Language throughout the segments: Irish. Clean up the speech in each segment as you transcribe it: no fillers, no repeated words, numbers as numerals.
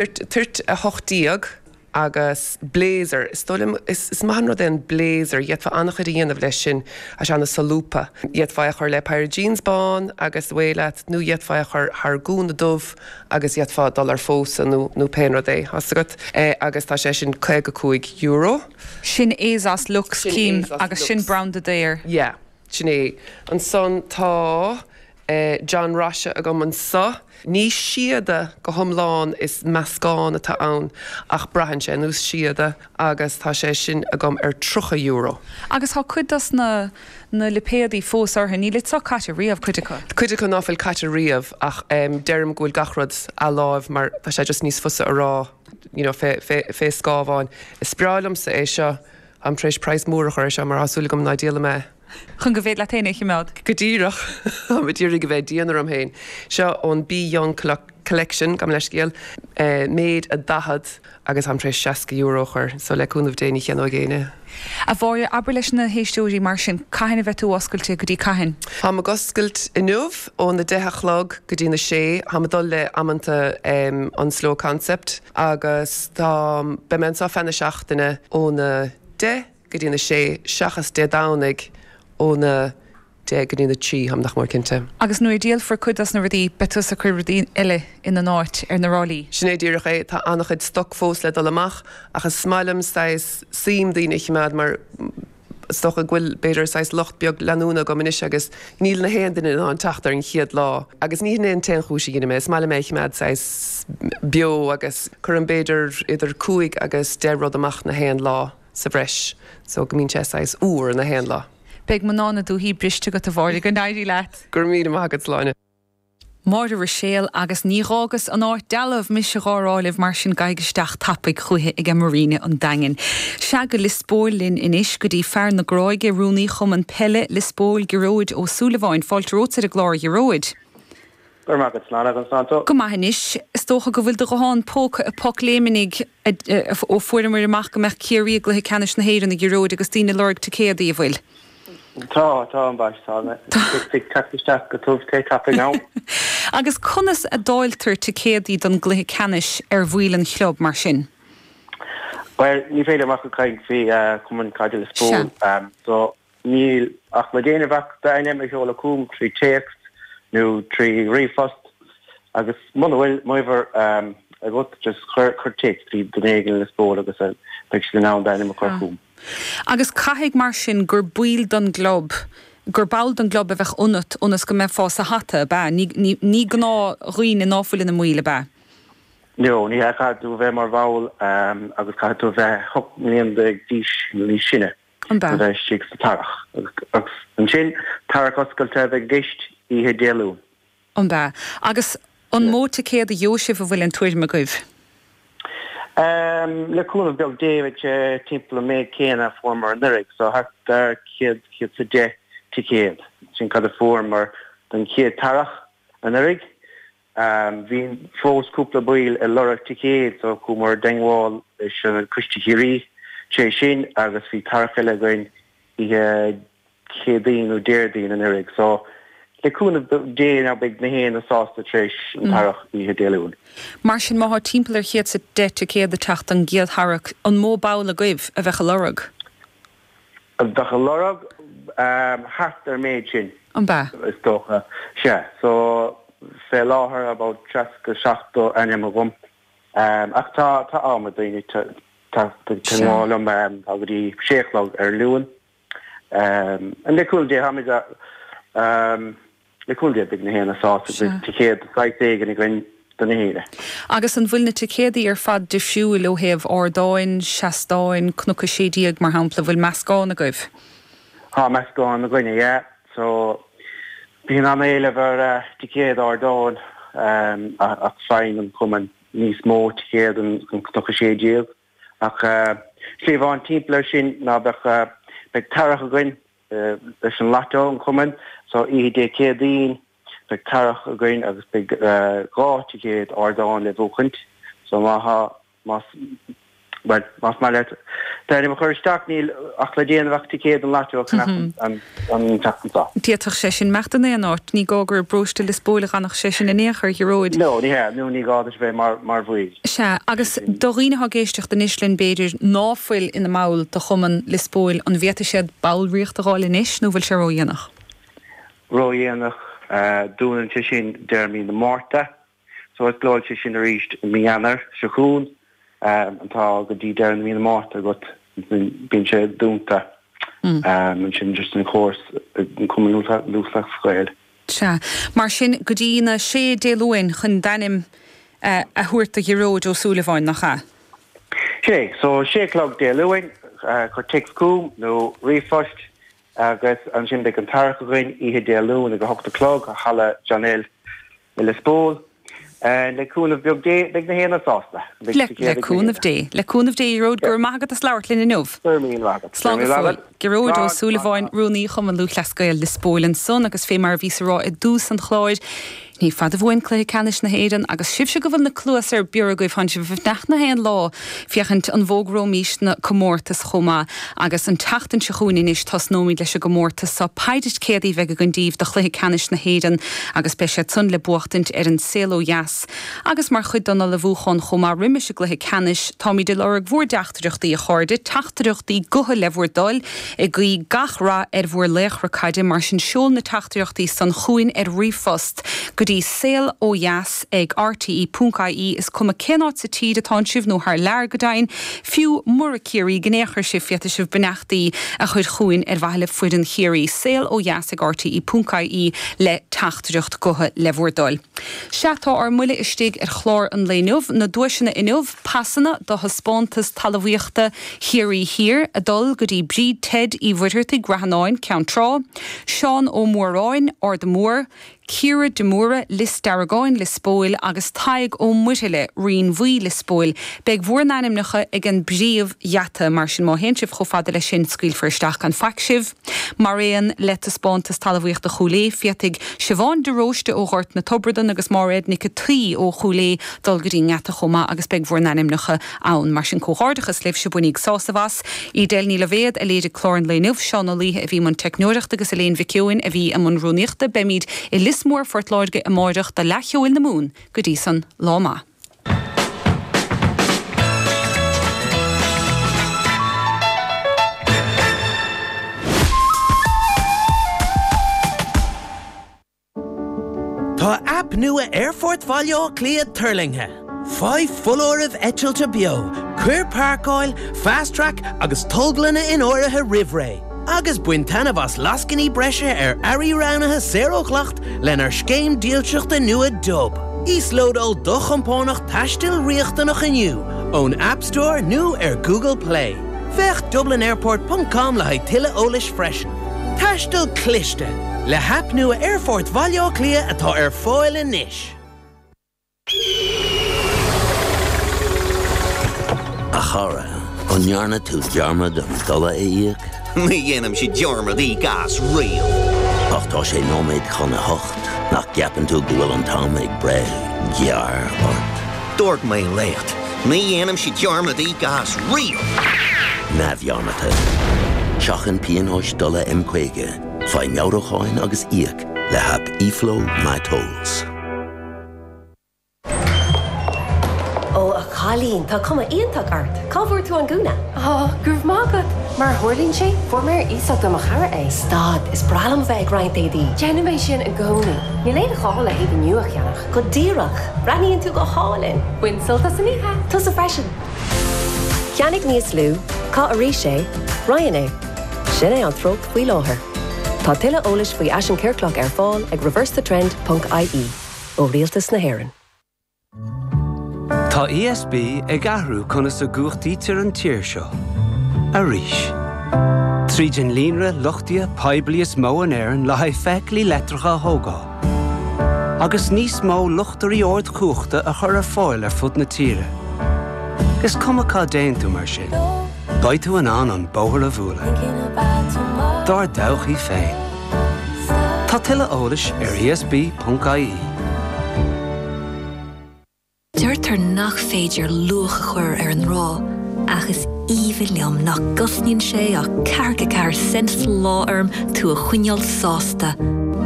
Toirt 18 agus blazer. Is dóigh liom, is maith an rud é an blazer, d'fhéadfá an-chuid a dhéanamh leis sin, tá sé an-solúbtha. D'fhéadfá é a chur le péire jeans bán agus away leat nó d'fhéadfá é a chur thar gúna dubh agus d'fhéadfá dul ar phósadh nó nó pé rud é, tá 's agat. Agus tá sé sin €55. Sin ASOS Luxe, Sin cím, agus sin Lux. branda daor. Yeah, sin é. Ansan tá. John Roche agam anso. Ní síoda go hiomlán, is meascán atá ann, ach braitheann sé ar nós síoda agus tá sé sin agam ar €30. Agus tá cuid dos na na lipéadaí fós orthu, níl iad seo caite riamh, cuid acu. Cuid acu ná fuil caite riamh ach deirim go bhfuil gach rud athláimh mar tá sé just níos fusa a rá you know fé fé fé scámháin. Is breá liomsa é seo, táim tar éis praghas mór a chur ar seo mar tá súil agam ná díolfaidh mé é. Chun go bhféad leat féin é a choimeád. Go díreach. Táim ag iarraidh a bheith dian orm féin. Seo ón Be Young Collection, gabh mo leithscéal, méid a 40 agus táim tar éis €60 a chur, so le cúnamh Dé ní cheannóidh éinne. A Mháire, abair leis na héisteoirí mar sin, cathain a bheidh tú oscailte, go dtí cathain? Táim ag oscailt inniu óna deich a chlog go dtí na sé. Táim ag dul le amanta an Slow Concept agus táim, beidh mé anseo feadh na seachtaine óna deich go dtí na sé, seachas Dé Domhnaigh óna 10 go dtí na 3, táim nach mór cinnte. Agus nuair a díolfar cuid dos na rudaí, beidh tusa ag cur rudaí eile ina n-áit ar na ráillí. Sin é díreach é. Tá an-chuid stoc fós le dul amach ach is maith liom saghas suim daoine a choimeád mar is dócha go bhfuil b'fhéidir saghas lucht beag leanúna agam anois agus níl na haon duine in ann teacht ar an chéad lá. Agus ní hin é an t-aon chúis a dheinim é, is maith liom é a choimeád saghas beo agus cuirim b'fhéidir idir cúig agus deich rud amach na haon lá. sa bhreis so go mbíonn sé saghas úr na haon lá. Beidh mná na dúthaí briste agat a Mháire, go n-éirí leat! Go raibh míle maith agat, Sláine. Máire Ruiséal, Agus ní dh'fhágas an áit dealbh, mise dhá rá libh, mar sin gabhaigí isteach tapaidh chúiche aige Marina an Daingin. Sea, go Liospóil linn anois, go dtí fear na Gráige, Rúnaí Chumann Peile Liospóil, Gearóid Ó Súilleabháin. Fáilte romhat ar an gclár, a Ghearóid. Go raibh maith agat, Sláine, agus slán tú. Go maith anois. Is dócha go bhfuil do ghuthán póca i bpocléimnigh ó fuaireamar amach go mbeadh Ciarraí i gcluiche ceannais na hÉireann, a Ghearóid, agus daoine ag lorg ticéadaí, an bhfuil? Tá, tá, ambaist, tá. Ag teacht isteach go tiubh te tapaidh now. Agus conas a dáiltear ticéadaí don gcluiche ceannais ar bhaill an chlub, mar sin? Bhuel, ní féidir liom ach ag caint faoi Chumann Caide Liospóil. So, Níl ach le déanamh ach d'ainm a sheoladh chugam trí téacs nó trí ríomhphost agus muna bhfuil m'uimhir agat just cuir téacs go dtí duine éigin i Liospóil agus beidh siad in ann d'ainm a chur chugam. Agus caithfidh mar sin gur baill don gclub, gur ball don gclub a bheadh ionat ionas go mbeifeá sa hata, ab ea? Ní, ní gnáthdhaoine ná fuil ina mbaill, ab ea? No, ní hea, caithfidh tú a bheith mar bhall agus caithfidh tú a bheith 18 mbliana d'aois nó níos sine. An b'ea? A bheith istigh sa tarrach. Agus ansin, tarrach oscailte a bheidh i gceist oíche Dé Luain. An b'ea? Agus an mó ticéad a gheobhaidh sibh, an bhfuil aon tuairim agaibh? Le cúnamh beag Dé, beidh sé timpeall an méid céanna a fuaireamar anuraidh, so thart ar 100, 110 ticéad. Sin cad a fuaireamar don chéad tarrach anuraidh. Bhí fós cúpla baill ag lorg ticéad so chuamar i dteangmháil leis an Coiste Chiarraí tar éis sin agus bhí tarrach eile againn oíche Chéadaoin nó Déardaoin anuraidh so le cúnamh Dé now beidh na héinne sásta tar éis an tarrach oíche Dé Luain. Mar sin má thá timpeall ar chéad 's a deich ticéad ag teacht don gcéad tharrac, an mó ball agaibh a bheadh a lorg? A bheadh a lorg thart ar an méid sin. An b'ea? Is dócha. Sea. So, fé láthair about 60, 70 ainm agam. Ach tá, tá am ag daoine teacht i dteangmháil liom. Tá go dtí sé a chlog ar an Luan. And le cúnamh Dé, táimid a, Le cúnamh Dé, beidh na héinne sásta go mbeidh ticéad de shaghas éigin againn do na héinne. Agus an bhfuil na ticéadaí ar fad difriúil ó thaobh ardáin, seastáin, Cnoc 16 mar shampla, bhfuil meascán agaibh? Tá meascán againne, yeah. So, bíonn an-éileamh ar ticéad ardáin ach faigheann an cumann níos mó ticéad an Cnoc 16. Ach slí amháin timpeall air sin ná beadh, beidh tarrach againn leis an Lotto, an cumann, so oíche Dé Céadaoin beidh tarrach againn agus beidh 2 ticéad ardáin le buachaint so má thá, más, bhuel, más maith leat D'ainm a chur isteach, níl ach le déanamh ach ticéad an lató a cheannach an tseachtain seo. D'fhéadfadh sé sin imeacht in aon áit, ní gá gur i bparóiste Lios Póil a dh'fhanfadh sé sin in aon chor, a Ghearóid. No, ní hea, nó ní gá duit a bheith mar bhaill. Sea, agus do dhaoine atá ag éisteacht anois linn, b'fhéidir, ná fuil ina mball de Chumann Lios Póil, an bhféadfaidh siad ballraíocht a dh'fháil anois nó bhfuil sé ródhéanach? Ródhéanach. Dúnann sé sin deireadh mí na Márta. So osclóidh sé sin arís i mí Eanáir seo chugainn. Tá go dtí deireadh na mí na Márta agat, bíonn sé dúnta ansin just an córas an Cumann Lúthchleas Gael. Sea. Mar sin, go dtí na sé Dé Luain chun d'ainm a thabhairt do Ghearóid Ó Súilleabháin, nach ea? Sin é. So, sé a chlog Dé Luain, cuir téacs chugam nó ríomhphost agus ansin beidh an tarrac againn oíche Dé Luain ag a hocht a chlog i Halla John L. I Lios Póil. Le cúnamh beag Dé, beidh na haon duine sásta. Beidh Le, le cúnamh Dé. Le cúnamh Dé, a Ghearóid, go raibh maith agat as labhairt linn inniu. Go raibh míle maith agat. Slán go fóill. Gearóid Ó Súilleabháin, Rúnaí Chumann Lúthchleas Gael Lios Póil ansan agus fé mar a bhíos a rá i dtús an chláir, ní fada uainn Cluiche Ceannais na hÉireann agus sibhse go bhfuil na cluasa ar bior agaibh, tánn sibh ag fanacht na haon lá féachaint an bhfógróimís na comórtais chomh maith agus an tseachtain seo chugainn anois tosnóimid leis an gcomórtas seo. Paidí ticéadaí a bheidh againn daoibh do Chluiche Ceannais na hÉireann agus beidh siad san le buachtaint ar an Saol Ó Dheas agus mar chuid den ullmhúchán chomh maith roimis an gcluiche ceannais táimid ag lorg bhúr dteachtaireachtaí a chairde, teachtaireachtaí gutha le bhur dtoil, ag guí gach rath ar bhur laochra caide mar sin seol na teachtaireachtaí san chugainn ar ríomhphost go dtí saol ó dheas ag rte ponc ie is cuma cén áit sa tír atánn sibh nó thar lear go deimhin, fiú mura Ciarraígh in aon chor sibh féadfaidh sibh beannachtaí a chur chugainn ar mhaithe le foireann Chiarraí. Saol ó dheas ag rte ponc ie le teachtaireacht gutha le bhur dtoil. Sea tá ár mbuille istigh ar chlár an lae inniu, na duaiseanna inniu, pasanna do thaispeántas talmhaíochta Chiarraí Thiar ag dul go dtí Bríd Ted Uí Mhuircheartaigh, Rath Fhionáin, Ceann Trá, Seán Ó Móráin, Ard an Mhór, Ciara de Mórdha, Lios Deargáin, Lios Póil, agus Tadhg Ó Muirthile, Rinn Bhuí, Lios Póil. Beidh bhur n-ainmneacha ag an bpríomh-gheata, mar sin má théann sibh chomh fada leis sin, scaoilfear isteach gan faic sibh. Mar aon le taispeántas talmhaíochta Chúil Aodha, féadfaidh Siobhán de Róiste ó Ghort na Tobradan agus Máiréad Nic a' tSaoi ó Chúil Aodha dul go dtí an ngeata chomh maith agus beidh bhur n-ainmneacha ann. Mar sin comhghairdeachas libhse, bainíg sásamh as. Edel Ní Loibhéad a léirigh clár an lae inniu, Seán Ó Laoithe a bhí i mbun teicneoireachta agus Elaine Mhic Eoin a bhí i mbun rúnaíochta. Beimid i Lios Mór, Phort Láirge amáireach do Fhleadh Cheoil na Mumhan. Go dtí san, lá maith. Tá aip nua Aerfort Bhaile Átha Cliath tuirlingthe. Faigh foláirimh eitilte beo, cuir páirceáil, Fast Track agus tolglanna in áirithe roimh ré, agus bain taitneamh as lascainí breise ar earraí roghnaithe saor ó dhleacht lenár scéim dílseachta nua Dub. Íoslódáil do chompánach taistil riachtanach inniu ón App Store nó ar Google Play. Féach dublinairport ponc com le haghaidh tuilleadh eolais freisin. Taisteal cliste! Le haip nua Aerfort Bhaile Átha Cliath atá ar fáil anois. A chara, an ndearna tú dearmad an dola a íoc? Ní dhéanaimse dearmad íoc as riamh. Ach tá sé nóiméad chun a hocht, nach gceapann tú go bhfuil an t-am ag breith gearr ort? Dúirt mé leat, ní dhéanaimse dearmad íoc as riamh! Neamhdhearmadta. Seachain pionóis dola M50, faigh meabhrúcháin agus íoc le haip eFlow MyTolls. Ó, a chailín, tá cuma iontach ort! Cá bhfuair tú an gúna? Á, go raibh maith agat! Mar a tharlaíonn sé, fuair mé ar iasacht ó mo chara é. Stad, is breá liom a bheith ag roinnt éadaí. Déanaim é sin i gcónaí. Níl aon ghá le héadaí nua a cheannach. Go díreach! Breathnaíonn tú go hálainn! Bain sult as an oíche! Tusa freisin! Ceannaigh níos lú, caith arís é, roinn é. Sin é an treocht faoi láthair. Tá tuilleadh eolais faoi fhaisean ciorclach ar fáil ag reversethetrend ponc ie ó Rialtas na hÉireann. Tá ESB ag athrú conas a gcumhachtaítear an tír seo. Arís. Tríd an líonra luchtaithe poiblí is mó in Éirinn le haghaidh feithiclí leictreacha a thógáil. Agus níos mó luchtairí ardchumhachta a chur ar fáil ar fud na tíre. Is cuma cá dtéann tú mar sin, beidh tú in ann an bóthar a bhualadh. Dár dtodhchaí féin. Tá tuilleadh eolais ar esb.ie. Deirtear nach féidir luach a chur ar an ngrá. Ach is aoibhinn liom nach gcosnaíonn sé ach 44 cent sa lá orm tú a choinneáil sásta.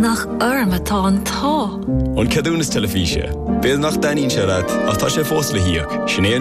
Nach orm atá an t-ádh! An ceadúnas teilifíse. B'fhéidir nach dtaitníonn sé leat, ach tá sé fós le híoc. Sin é an.